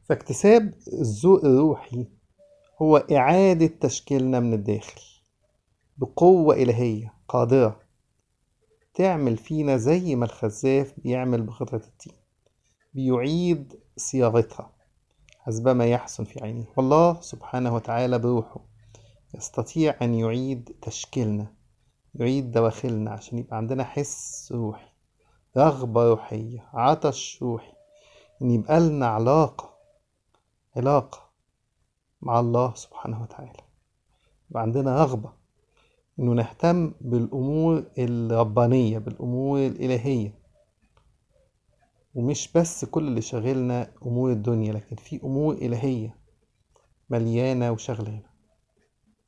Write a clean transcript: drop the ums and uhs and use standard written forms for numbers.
فاكتساب الذوق الروحي هو إعادة تشكيلنا من الداخل بقوة إلهية قادرة تعمل فينا زي ما الخزاف بيعمل بقطعة الطين، بيعيد صياغتها حسب ما يحسن في عينه. والله سبحانه وتعالى بروحه يستطيع أن يعيد تشكيلنا، يعيد دواخلنا عشان يبقى عندنا حس روحي، رغبة روحية، عطش روحي، إن يبقى لنا علاقة مع الله سبحانه وتعالى، يبقى عندنا رغبة إنه نهتم بالأمور الربانية، بالأمور الإلهية، ومش بس كل اللي شاغلنا أمور الدنيا، لكن في أمور إلهية مليانة وشغلانة.